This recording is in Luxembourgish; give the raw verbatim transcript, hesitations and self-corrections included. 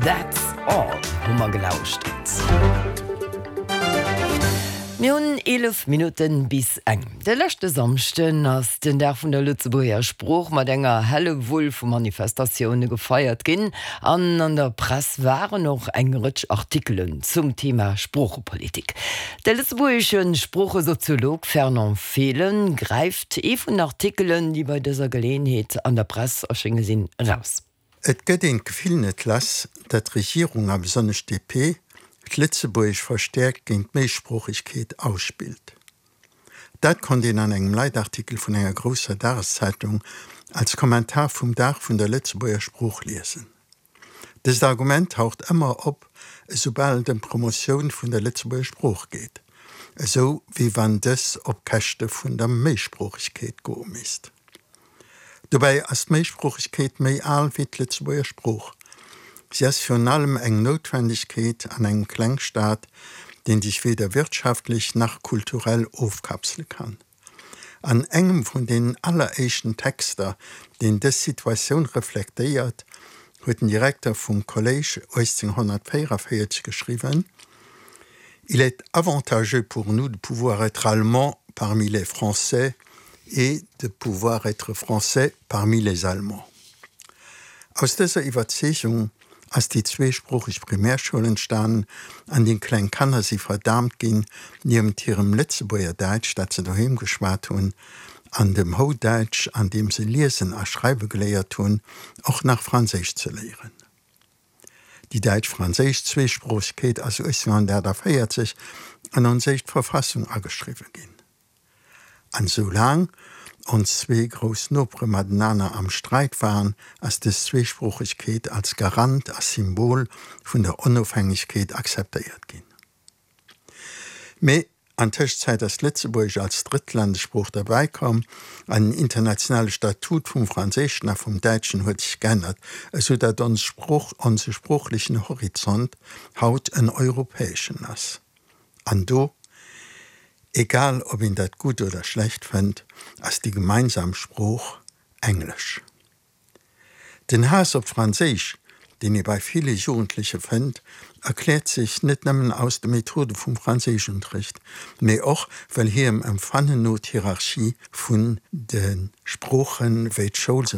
That's All hu mer gelauschtert. Mir hunn eelef Minutten bis eng. De leschte Samschden ass den Dag vun der Lëtzebuerger Sprooch mat enger Hellewull vu Manifestatioune gefeiert ginn. An an der Press waren och eng Rëtsch Artikelen zum Thema Sproochepolitik. De lëtzebuergesche Sproochesoziolog Fernand Fehlen gräift ee vun den Artikelen, déi bei dëser Geleeënheet an der Press erschénge sinn, eraus. Et gëtt een d'Gefill net lass, datt d'Regierung a besonnesch d'DP d'Lëtzebuergesch verstäerkt géint d'Méisproochegkeet ausspillt. Dat konnt een an engem Leitartikel vun enger grousser Dageszeitung als Kommentar vum Dag vun der Lëtzebuerger Sprooch liesen. Dëst Argument taucht ëmmer op, esoubal et ëm d'Promotioun vun der Lëtzebuerger Sprooch geet, esou wéi wann dës op Käschte vun der Méisproochegkeet goe misst. Dobäi ass d'Méisproochegkeet méi al wéi d'Lëtzebuerger Sprooch. Si ass virun allem eng Noutwendegkeet an engem Klengstaat, deen sech weder wirtschaftlech nach kulturell ofkapsele kann. An engem vun den alleréischten Texter, deen dës Situatioun reflektéiert, huet den Direkter vum Kolléisch uechtzénghonnertvéierevéierzeg geschriwwen, Il est avantageux pour nous de pouvoir être Allemands parmi les Français et de pouvoir être Français parmi les Allemands. Aus dëser Iwwerzeegung ass déi zweesproocheg Primärschoul entstanen, an deem kleng Kanner si verdaamt ginn, niewent hirem Lëtzebuerger Däitsch, dat se doheem geschwat hunn, an dem Houdäitsch, an deem se liesen a schreiwe geléiert hunn, och nach Franséisch ze léieren. Déi däitsch-franséisch Zweesproochegkeet ass uechtzénghonnertaachtavéierzeg an ons éischt Verfassung ageschriwwe ginn. An soulaang ons zwee grouss Nopere matenaner am Sträit waren, ass dës Zweesproochegkeet als Garant a Symbol vun der Onofhängegkeet akzeptéiert ginn. Mee an Tëschenzäit ass Lëtzebuergesch als drëtt Landessprooch derbäi komm an den internationale Statut vum Franséischen a vum Däitschen huet sech geännert, esou datt ons Sprooch, onse sproochlechen Horizont haut en europäeschen ass. An do, egal ob een dat gutt oder schlecht fënnt, ass déi gemeinsam Sprooch Englesch. Den Haass op Franséisch, deen ee bei ville Jugendleche fënnt, erkläert sech net nëmmen aus de Methode vum Franséischunterricht, mee och well hirem Empfannen no d'Hierarchie vun de Sproochen, wéi d'Schoul se